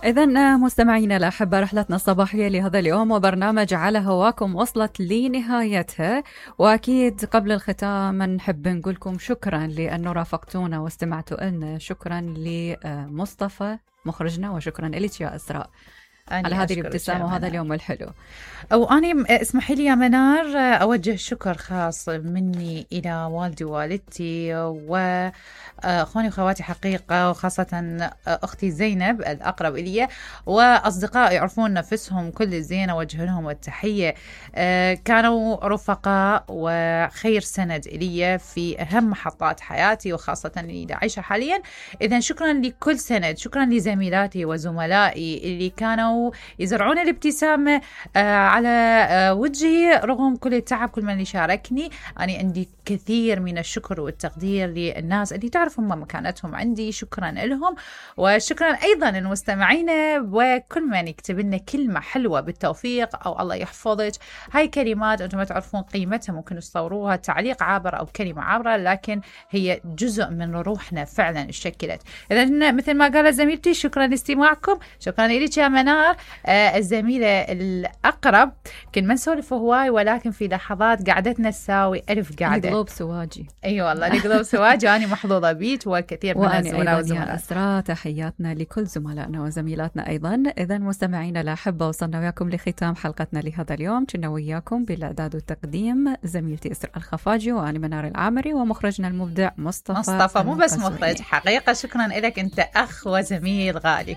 إذن مستمعينا الأحبة، رحلتنا الصباحية لهذا اليوم وبرنامج على هواكم وصلت لنهايتها، وأكيد قبل الختام نحب نقولكم شكرا لأنه رافقتونا واستمعتوا لنا. شكرا لمصطفى مخرجنا، وشكرا لك يا إسراء على هذه الابتسامة وهذا اليوم الحلو. وأنا اسمحي لي يا منار أوجه شكر خاص مني إلى والدي ووالدتي وأخواني وخواتي حقيقة، وخاصة أختي زينب الأقرب إلي، وأصدقائي يعرفون نفسهم كل الزين، أوجه لهم التحية. كانوا رفقاء وخير سند إلي في أهم محطات حياتي، وخاصة اللي عايشة حاليا. إذن شكرا لكل سند، شكرا لزميلاتي وزملائي اللي كانوا يزرعون الابتسامة على وجهي رغم كل التعب. كل من يشاركني، أنا عندي كثير من الشكر والتقدير للناس اللي تعرفهم مكانتهم عندي، شكرا لهم. وشكرا أيضا للمستمعين وكل من يكتب لنا كلمة حلوة بالتوفيق أو الله يحفظك. هاي كلمات أنتم ما تعرفون قيمتها، ممكن تصوروها تعليق عابر أو كلمة عابرة، لكن هي جزء من روحنا فعلا اشكلت. إذن مثل ما قالت زميلتي، شكرا لاستماعكم. شكرا لك يا منار الزميلة الأقرب. كن ما نسولف هواي، ولكن في لحظات قعدتنا تساوي ألف قعدة. القلوب سواجي. أي والله القلوب سواجي. أنا محظوظة بيك وكثير من الزملاء والزملاء. يا أسراء تحياتنا لكل زملائنا وزميلاتنا أيضا. إذا مستمعينا الأحبة، وصلنا وياكم لختام حلقتنا لهذا اليوم. كنا وياكم بالإعداد والتقديم زميلتي إسراء الخفاجي، وأنا منار العامري، ومخرجنا المبدع مصطفى. مو بس مخرج حقيقة. شكرا لك، أنت أخ وزميل غالي.